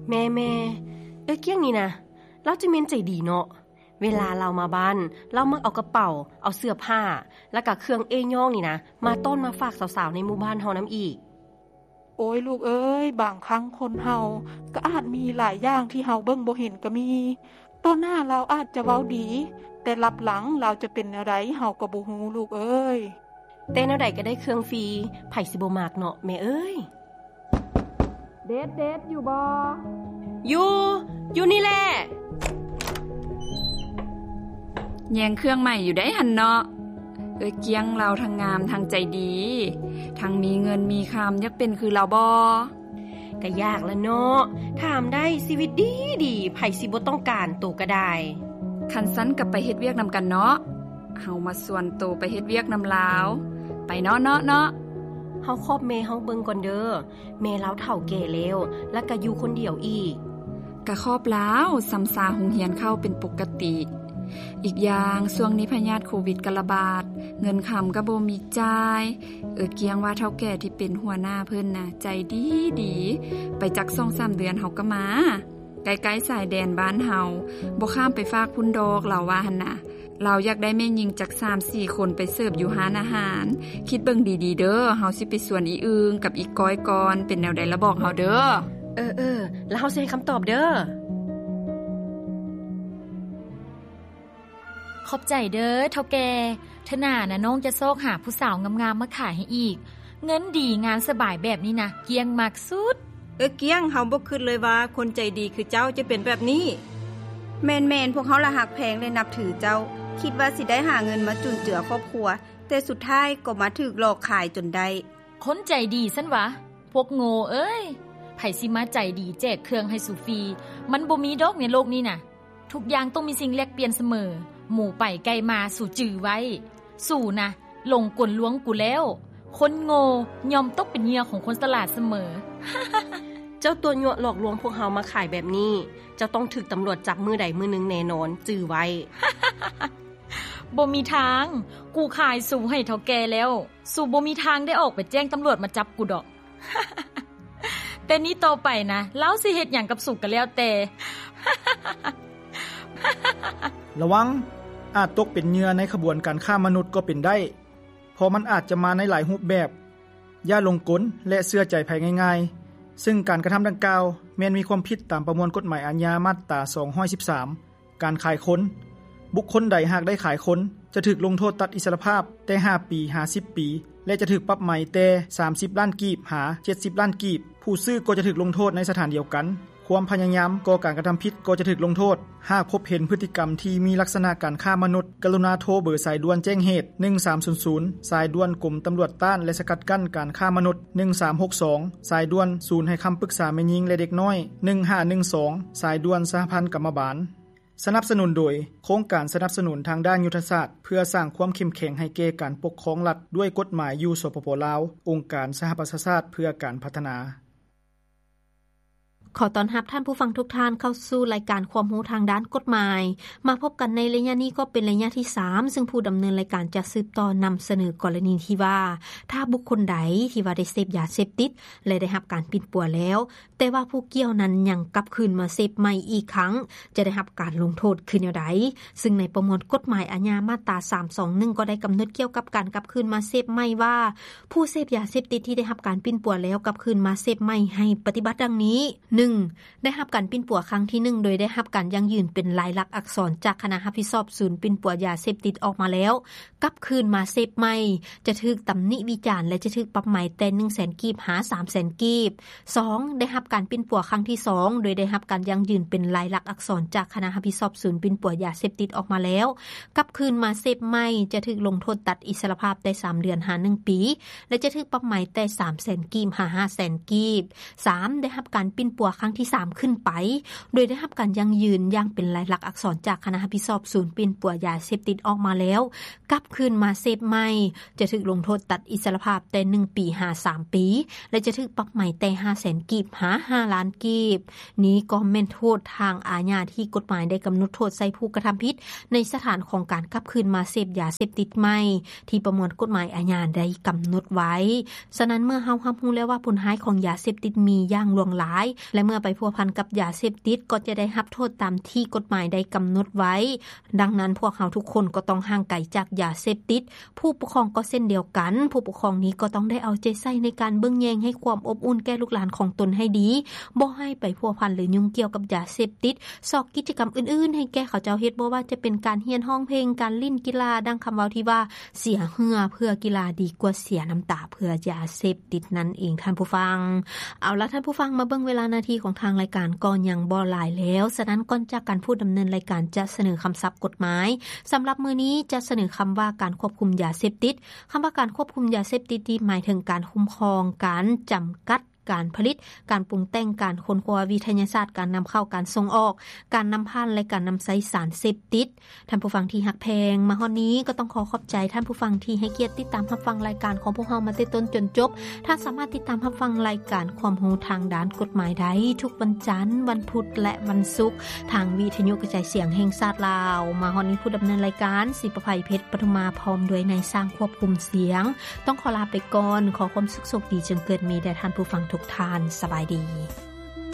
ແມ່ໆ ເອື້ອຍກ້ຽງນີ້ນະ ລາວຈະແມ່ນໃຈດີເນາະ. ເວລາລາວມາບ້ານ ລາວມັກເອົາກະເປົາ, ເອົາເສື້ອຜ້າ ແລ້ວກະເຄື່ອງເອ້ຍ້ອງນີ້ນະ ມາຕ້ອນມາຝາກສາວໆໃນໝູ່ບ້ານເຮົານຳອີກ. ໂອ້ຍ ລູກເອີຍ, ບາງຄັ້ງຄົນເຮົາກໍອາດມີຫຼາຍຢ່າງທີ່ເຮົາເບິ່ງບໍ່ເຫັນກໍມີ. ຕໍ່ໜ້າລາວອາດຈະເວົ້າດີ, ແຕ່ລັບຫຼັງລາວຈະເປັນແນວໃດເຮົາກໍບໍ່ຮູ້ ລູກເອີຍ. ແຕ່ແນວໃດກໍໄດ້ເຄື່ອງຟຣີ, ໃຜຊິບໍ່ມັກເນາະແມ່ເອີຍ. ເດັດ ເດັດ ຢູ່ບໍ່? ຢູ່ ຢູ່ນີ້ແຫຼະ. ແຍ່ງເຄື່ອງໃໝ່ຢູ່ໃດຫັ້ນເນາະ. ເອື້ອຍກ້ຽງລາວທັງງາມທັງໃຈດີ, ທັງມີເງິນມີຄຳ, ຢາກເປັນຄືລາວບໍ່? ກະຢາກລະເນາະ, ຖາມໄດ້, ຊີວິດດີດີ, ໃຜຊິບໍ່ຕ້ອງການໂຕກະໄດ້. ຄັນຊັ້ນກະໄປເຮັດວຽກນຳກັນເນາະ, ເຮົາມາຊວນໂຕໄປເຮັດວຽກນຳລາວ. ໄປເນາະ ເນາະ ເນາະ. ເຮົາຄອບແມ່ເຮົາເບິ່ງກ່ອນເດີ, ແມ່ລາວເຖົ້າແກ່ແລ້ວ ແລ້ວກະຢູ່ຄົນດຽວອີກ. ກະຄອບລາວ, ຊຳຊາໂຮງຮຽນເຂົ້າເປັນປົກກະຕິ. ອີກຢ່າງ, ຊ່ວງນີ້ພະຍາດໂຄວິດກະລະບາດ, ເງິນຄຳກະບໍ່ມີຈ່າຍ. ເອື້ອຍກ້ຽງວ່າເຖົ້າແກ່ທີ່ເປັນຫົວໜ້າເພິ່ນນະ ໃຈດີດີ, ໄປຈັກສອງສາມເດືອນເຮົາກະມາ. ໃກ້ໆຊາຍແດນບ້ານເຮົາ, ບໍ່ຂ້າມໄປຟາກພຸ້ນດອກ, ລາວວ່າຫັ້ນນະ. ລາວຢາກໄດ້ແມ່ຍິງຈັກສາມສີ່ຄົນໄປເສີບຢູ່ຮ້ານອາຫານ. ຄິດເບິ່ງດີໆເດີ, ເຮົາຊິໄປຊວນອີອຶ່ງກັບອີກ້ອຍກ່ອນ, ເປັນແນວໃດລະບອກເຮົາເດີ. ເອີໆ ລະເຮົາຊິໃຫ້ຄຳຕອບເດີ. ຂອບໃຈເດີເຖົ້າແກ່, ເທື່ອໜ້ານະນ້ອງຈະຊອກຫາຜູ້ສາວງາມໆມາຂາຍໃຫ້ອີກ. ເງິນດີງານສະບາຍແບບນີ້ນະ ກ້ຽງມັກສຸດ. ເອີ ກ້ຽງ, ເຮົາບໍ່ຄິດເລີຍວ່າຄົນໃຈດີຄືເຈົ້າຈະເປັນແບບນີ້. ແມ່ນໆ, ພວກເຮົາລະຮັກແພງ ແລະ ນັບຖືເຈົ້າ. ຄິດວ່າຊິໄດ້ຫາເງິນມາຈຸນເຈືອຄອບຄົວ, ແຕ່ສຸດທ້າຍກໍມາຖືກຫຼອກຂາຍຈົນໄດ້. ຄົນໃຈດີຊັ້ນຫວາ? ພວກໂງ່ເອີຍ, ໃຜຊິມາໃຈດີແຈກເຄື່ອງໃຫ້ສູຟຣີ? ມັນບໍ່ມີດອກໃນໂລກນີ້ນະ. ທຸກຢ່າງຕ້ອງມີສິ່ງແລກປ່ຽນສະເໝີ. ໝູໄປໄກ່ມາ, ສູຈື່ໄວ້. ສູນະ ຫຼົງກົນລວງກູແລ້ວ. ຄົນໂງ່ຍ່ອມຕົກເປັນເຫຍື່ອຂອງຄົນສະຫຼາດສະເໝີ. ເຈົ້າຕົວະຍົວະຫຼອກລວງພວກເຮົາມາຂາຍແບບນີ້, ເຈົ້າຕ້ອງຖືກຕຳຫຼວດຈັບມື້ໃດມື້ໜຶ່ງແນ່ນອນ, ຈື່ໄວ້. ບໍ່ມີທາງ, ກູຂາຍສູໃຫ້ເຖົ້າແກ່ແລ້ວ, ສູບໍ່ມີທາງໄດ້ອອກໄປແຈ້ງຕຳຫຼວດມາຈັບກູດອກ. ແຕ່ນີ້ຕໍ່ໄປນະ, ລາວຊິເຮັດຫຍັງກັບສູກະແລ້ວແຕ່. ລະວັງ, ອາດຕົກເປັນເຫຍື່ອໃນຂະບວນການຄ້າມະນຸດກໍເປັນໄດ້, ເພາະມັນອາດຈະມາໃນຫຼາຍຮູບແບບ. ຢ່າຫຼົງກົນ ແລະ ເຊື່ອໃຈໃຜງ່າຍໆ, ເຊິ່ງການກະທຳດັ່ງກ່າວແມ່ນມີຄວາມຜິດຕາມປະມວນກົດໝາຍອາຍາມາດຕາສອງຮ້ອຍສິບສາມ. ການຂາຍຄົນ. ບຸກຄົນໃດຫາກໄດ້ຂາຍຄົນ ຈະຖືກລົງໂທດຕັດອິດສະລະພາບແຕ່ຫ້າປີຫາສິບປີ ແລະ ຈະຖືກປັບໃໝແຕ່ສາມສິບລ້ານກີບຫາເຈັດສິບລ້ານກີບ. ຜູ້ຊື້ກໍຈະຖືກລົງໂທດໃນສະຖານດຽວກັນ. ຄວາມພະຍາຍາມກໍ່ການກະທຳຜິດກໍຈະຖືກລົງໂທດ. ຫາກພົບເຫັນພຶດຕິກຳທີ່ມີລັກສະນະການຄ້າມະນຸດ, ກະລຸນາໂທເບີສາຍດ່ວນແຈ້ງເຫດ ໜຶ່ງສາມສູນສູນ, ສາຍດ່ວນກົມຕຳຫຼວດຕ້ານ ແລະ ສະກັດກັ້ນການຄ້າມະນຸດ ໜຶ່ງສາມຫົກສອງ, ສາຍດ່ວນສູນໃຫ້ຄຳປຶກສາແມ່ຍິງ ແລະ ເດັກນ້ອຍ ໜຶ່ງຫ້າໜຶ່ງສອງ, ສາຍດ່ວນສະຫະພັນກຳມະບານ. ສະໜັບສະໜູນໂດຍ ໂຄງການສະໜັບສະໜູນທາງດ້ານຍຸດທະສາດ ເພື່ອສ້າງຄວາມເຂັ້ມແຂງໃຫ້ແກ່ການປົກຄອງລັດດ້ວຍກົດໝາຍຢູ່ ສປປ ລາວ, ອົງການສະຫະປະຊາຊາດເພື່ອການພັດທະນາ. ຂໍຕ້ອນຮັບທ່ານຜູ້ຟັງທຸກທ່ານເຂົ້າສູ່ລາຍການຄວາມຮູ້ທາງດ້ານກົດໝາຍ. ມາພົບກັນໃນໄລຍະນີ້ກໍເປັນໄລຍະທີສາມ, ເຊິ່ງຜູ້ດຳເນີນລາຍການຈະສືບຕໍ່ນຳສະເໜີກໍລະນີທີ່ວ່າ ຖ້າບຸກຄົນໃດທີ່ວ່າໄດ້ເສບຢາເສບຕິດ ແລະ ໄດ້ຮັບການປິ່ນປົວແລ້ວ, ແຕ່ວ່າຜູ້ກ່ຽວນັ້ນຍັງກັບຄືນມາເສບໃໝ່ອີກຄັ້ງ ຈະໄດ້ຮັບການລົງໂທດຄືແນວໃດ? ຊຶ່ງໃນປະມວນກົດໝາຍອາຍາມາດຕາສາມສອງໜຶ່ງ ກໍໄດ້ກຳນົດກ່ຽວກັບການກັບຄືນມາເສບໃໝ່ວ່າ ຜູ້ເສບຢາເສບຕິດທີ່ໄດ້ຮັບການປິ່ນປົວແລ້ວກັບຄືນມາເສບໃໝ່ໃຫ້ປະຕິບັດດັ່ງນີ້: ໜຶ່ງ ໄດ້ຮັບການປິ່ນປົວຄັ້ງທີໜຶ່ງ ໂດຍໄດ້ຮັບການຢັ້ງຢືນເປັນລາຍລັກອັກສອນຈາກຄະນະຮັບຜິດຊອບສູນປິ່ນປົວຢາເສບຕິດອອກມາແລ້ວ ກັບຄືນມາເສບໃໝ່ ຈະຖືກຕຳໜິວິຈານ ແລະ ຈະຖືກປັບໃໝແຕ່ໜຶ່ງແສນກີບຫາສາມແສນກີບ. ສອງ ໄດ້ຮັບການປິ່ນປົວຄັ້ງທີສອງ ໂດຍໄດ້ຮັບການຢັ້ງຢືນເປັນລາຍລັກອັກສອນຈາກຄະນະຮັບຜິດຊອບສູນປິ່ນປົວຢາເສບຕິດອອກມາແລ້ວ ກັບຄືນມາເສບໃໝ່ ຈະຖືກລົງໂທດຕັດອິດສະລະພາບແຕ່ສາມເດືອນຫາໜຶ່ງປີ ແລະ ຈະຖືກປັບໃໝແຕ່ສາມແສນກີບຫາຫ້າແສນກີບ. ສາມ ໄດ້ຮັບການປິ່ນປົວຄັ້ງທີສາມຂຶ້ນໄປ ໂດຍໄດ້ຮັບການຢັ້ງຢືນຢ່າງເປັນລາຍລັກອັກສອນຈາກຄະນະຮັບຜິດຊອບສູນປິ່ນປົວຢາເສບຕິດອອກມາແລ້ວ ກັບຄືນມາເສບໃໝ່ ຈະຖືກລົງໂທດຕັດອິດສະລະພາບແຕ່ໜຶ່ງປີຫາສາມປີ ແລະ ຈະຖືກປັບໃໝແຕ່ຫ້າແສນກີບຫາຫ້າລ້ານກີບ. ນີ້ກໍແມ່ນໂທດທາງອາຍາທີ່ກົດໝາຍໄດ້ກຳນົດໂທດໃສ່ຜູ້ກະທຳຜິດໃນສະຖານຂອງການກັບຄືນມາເສບຢາເສບຕິດໃໝ່ ທີ່ປະມວນກົດໝາຍອາຍາໄດ້ກຳນົດໄວ້. ສະນັ້ນ ເມື່ອເຮົາຮັບຮູ້ແລ້ວວ່າຜົນຮ້າຍຂອງຢາເສບຕິດມີຢ່າງຫຼວງຫຼາຍ ແລະ ເມື່ອໄປພົວພັນກັບຢາເສບຕິດ ກໍຈະໄດ້ຮັບໂທດຕາມທີ່ກົດໝາຍໄດ້ກຳນົດໄວ້. ດັ່ງນັ້ນ ພວກເຮົາທຸກຄົນກໍຕ້ອງຫ່າງໄກຈາກຢາເສບຕິດ. ຜູ້ປົກຄອງກໍເຊັ່ນດຽວກັນ. ຜູ້ປົກຄອງນີ້ກໍຕ້ອງໄດ້ເອົາໃຈໃສ່ໃນການເບິ່ງແຍງໃຫ້ຄວາມອົບອຸ່ນແກ່ລູກຫຼານຂອງຕົນໃຫ້ດີ, ບໍ່ໃຫ້ໄປພົວພັນ ຫຼື ຫຍຸ້ງກ່ຽວກັບຢາເສບຕິດ. ຊອກກິດຈະກຳອື່ນໆໃຫ້ແກ່ເຂົາເຈົ້າເຮັດ, ບໍ່ວ່າຈະເປັນການຮຽນຮ້ອງເພງ, ການຫຼິ້ນກິລາ, ດັ່ງຄຳເວົ້າທີ່ວ່າ ເສຍເຫື່ອເພື່ອກິລາດີກວ່າເສຍນ້ຳຕາເພື່ອຢາເສບຕິດນັ້ນເອງ ທ່ານຜູ້ຟັງ. ເອົາລະ ທ່ານຜູ້ຟັງ, ມາເບິ່ງເວລານາທີຂອງທາງລາຍການກໍຍັງບໍ່ຫຼາຍແລ້ວ. ສະນັ້ນ ກ່ອນຈາກກັນ ຜູ້ດຳເນີນລາຍການຈະສະເໜີຄຳສັບກົດໝາຍ. ສຳລັບມື້ນີ້ຈະສະເໜີຄຳວ່າ ການຄວບຄຸມຢາເສບຕິດ. ຄຳວ່າການຄວບຄຸມຢາເສບຕິດນີ້ ໝາຍເຖິງການຄຸ້ມຄອງ, ການຈຳກັດ, ການຜະລິດ, ການປຸງແຕ່ງ, ການຄົ້ນຄວ້າວິທະຍາສາດ, ການນຳເຂົ້າ, ການສົ່ງອອກ, ການນຳຜ່ານ ແລະ ການນຳໃຊ້ສານເສບຕິດ. ທ່ານຜູ້ຟັງທີ່ຮັກແພງ, ມາຮອດນີ້ກໍຕ້ອງຂໍຂອບໃຈທ່ານຜູ້ຟັງທີ່ໃຫ້ກຽດຕິດຕາມຮັບຟັງລາຍການຂອງພວກເຮົາມາແຕ່ຕົ້ນຈົນຈົບ. ທ່ານສາມາດຕິດຕາມຮັບຟັງລາຍການຄວາມຮູ້ທາງດ້ານກົດໝາຍໄດ້ທຸກວັນຈັນ, ວັນພຸດ ແລະ ວັນສຸກ ທາງວິທະຍຸກະຈາຍສຽງແຫ່ງຊາດລາວ. ມາຮອດນີ້ ຜູ້ດຳເນີນລາຍການ ສີປະໄພ ເພັດປະທຸມາ ພ້ອມດ້ວຍນາຍຊ່າງຄວບຄຸມສຽງ ຕ້ອງຂໍລາໄປກ່ອນ. ຂໍຄວາມສຸກໂຊກດີຈົ່ງເກີດມີແດ່ທ່ານຜູ້ຟັງທຸກທ່ານ. ສະບາຍດີ.